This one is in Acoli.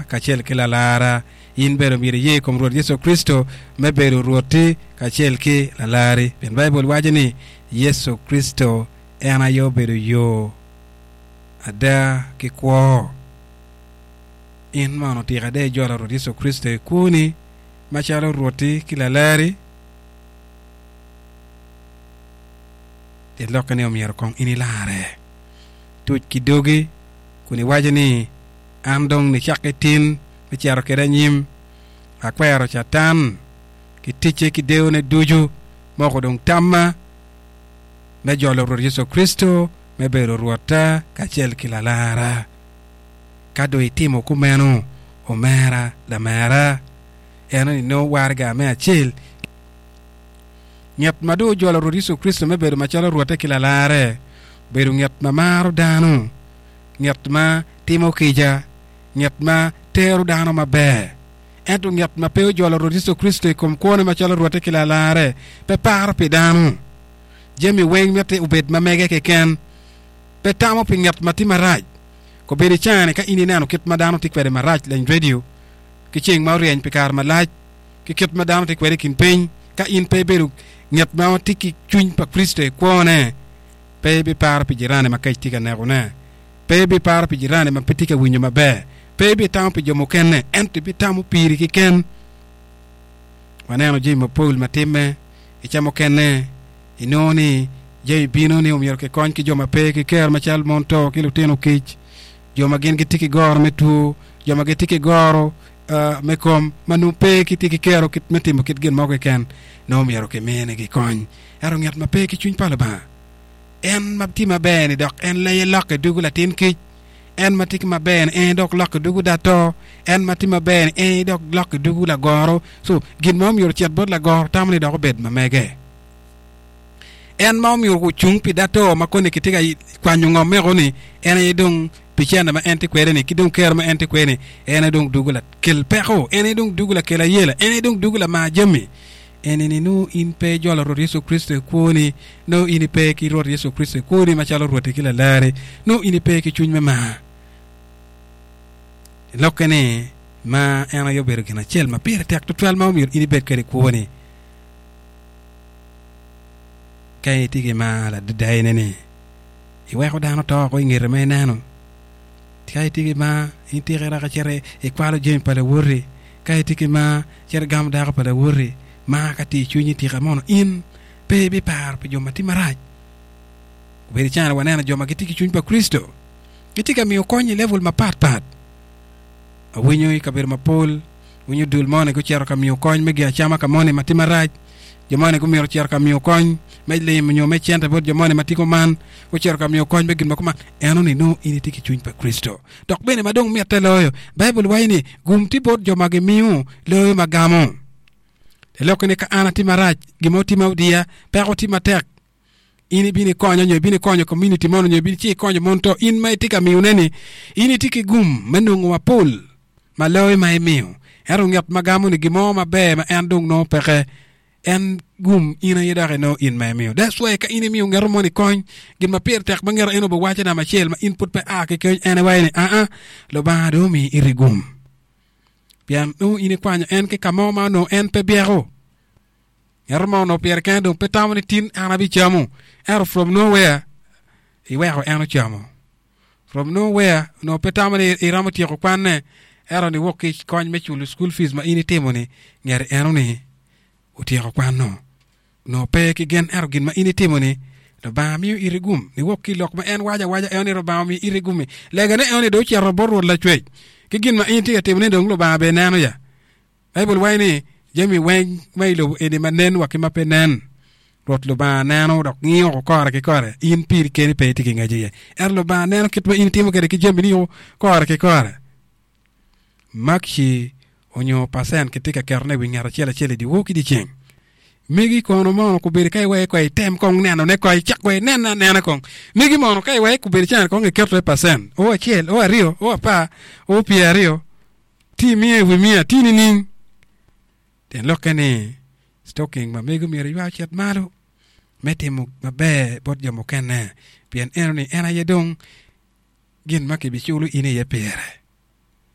kacel ki Lalarra. In bene omyero iye i kom Rwot Yecu Kricito me bedo Rwotti kacel ki Lalarri. Pien Baibul waco ni Yecu Kricito en aye obedo yo, ada, ki kwo. In mono tika dong ijolo Rwot Yecu Kricito i kwoni macalo Rwotti ki Lalarri? Tyen lokke ni omyero kong in ilarre. Tuc ki dogi kun iwaco ni, An dong nicakke tin me cito kwede anyim, akwero Catan ki ticce ki deyone ducu, moko dong tamma me jolo Rwot Yecu Kricito me bedo Rwotta kacel ki Lalarra. Ka dong itimo kumeno, omera, lamera, eno ni nongo waraga me acel. Nget ma dong ojolo Rwot Yecu Kricito me bedo macalo Rwotte ki Lalarre, obedo nget ma maro dano, nget ma timo kica, nget ma tero dano maber. Ento nget ma pe ojolo Rwot Yecu Kricito i kom kwone macalo Rwotte ki Lalarre, pe paro pi dano. Jami weng mitte obed ma mege keken. Pe tamo pi nget ma tye marac. Kobedo i caa-ni ka in ineno kit ma dano tye kwede marac leny redio ki ceng ma oryeny pi kare malac, ki kit ma dano tye kwede i kin piny, ka in pe ibedo nget ma tye ki cwiny pa Kricito i kwone, pe ibiparo pi jirani ma kec tye ka nekone, pe ibiparo pi jirani ma pe tye ka winyo maber, pe ibitamo pi jo mukene, ento ibitamo piri keken. Waneno jami mapol ma timme i ca mukene, inongo ni jami bino ni omyero kikony ki jo ma pe ki kero macalo mon to ki lutino kic, jo ma gin gitye ki goro me two, jo ma gitye ki goro me kom ma nongo pe gitye ki kero me timo kit gin mo keken, nongo myero kiminigi kony. Ento ngat ma pe ki cwiny pa Lubanga, en ma tye maber-ni dok en leye lokke dugo latin kic, en ma tye ki maber-ni en dok lokke dugo dato, en ma tye maber-ni en dok lokke dugo lagoro. So, gin ma omyero ocit bot lagoro tamo ni dok obed ma mege. En ma omyero ocung pi dato ma koni kitye ka kwanyo ngom meko-ni, en aye dong pi cente ma en tye kwede-ni ki dong kero ma en tye kwede-ni, en aye dong dugo lakel peko, en aye dong dugo lakel ayela, en aye dong dugo lamar jami. Eni-ni nongo in pe ijolo Rwot Yecu Kricito i kwoni, nongo in ipe ki Rwot Yecu Kricito i kwoni macalo Rwotti ki Lalarri, nongo in ipe ki cwiny me mar. Lokke ni, mar en aye obedo gin acel ma pire tek tutwal ma omyero in ibed kwede i kwoni. Ka itye ki mar ladada ene-ni, iweko dano to oko i ngete ma ineno. Ka itye ki mar, in tika irako icito ikwalo jami pa lawoti. Ka itye ki mar, cito igamo dako pa lawoti. Mar ka tye i cwinyi tika mono in pe ibiparo pi jo ma tye marac? Obedo calo waneno jo ma gitye ki cwiny pa Kricito gitye ka miyo kony i level mapat pat. Awinyo i kabedo mapol, winyo dul moni gucito ka miyo kony me gin acama ka moni ma tye marac, jo moni gumito cito ka miyo kony me lim nyo me cente bot jo moni ma tye kuman, gucito ka miyo kony me gin ma kuman. Eno-ni nongo in itye ki cwiny pa Kricito. Dok bene ma dong mitte loyo, Baibul waco ni, Gum tye bot jo ma gimiyo loyo ma gamo. Te lokke ni ka an atye marac, gin mo tye ma odiya, peko tye matek, in ibino ikonyo nyo ibino ikonyo community mono nyo ibino ci ikonyo mon to in ma itye ka miyone ni in itye ki gum me nongo mapol ma loyo ma imiyo. Ento ngat ma gamo ni gin mo maber ma en dong nongo peke en gum in aye dok inongo in ma imiyo. That's why ka in imiyo ngeto moni kony, gin ma pire tek ma ngeto en obiwaco namba acel ma in pud pe a ki keny en iwaco ni aa Lubanga dong omiyi iti gum. Pien nongo in ikwanyo en ki ka mo ma onongo en pe byeko. Ngeto mo onongo pire kene dong pe tamo ni tin an abicamo. Ento from nowhere iweko en ocamo. From nowhere onongo pe tamo ni iromo tyeko kwanne ento niwok ki kony me culo school fees ma in itimo-ni ngeti eno-ni otyeko kwano. Onongo pe ki gen ento gin ma in itimo-ni Lubanga miyo iti gum niwok ki lok ma en waco awaca eno ni Lubanga omiyo iti gum-mi. Legane eno ni dong ocito bot Rwot Lacwec ki gin ma in itye ka timone dong Lubanga bene neno ya. Baibul waco ni, Jami weng ma i lobo eni ma nen wa ki ma pe nen, Rwot Lubanga neno dok ngiyo woko kore ki kore. In piri keni pe itye ki ngec iye, ento Lubanga neno kit ma in itimo kwede ki jamini kore ki kore. Makci onyo pacent kitye ka ketone i wi ngat acel acel i dyewor ki dyeceng. Megi kono mono kobedo ka iweko kong item kong nenone kong icak kong inene anena kong. Megi mono ka iweko kobedo cene kong iketo iye pacent o acel, o aryo, o apar, o pyeraryo. Ti imiya i wi miya, ti nining? Tyen lokke ni, stocking ma mego myero iywa ocit malo me timo maber bot jo mukene, pien eno ni en aye dong gin ma kibiculo in iye pire.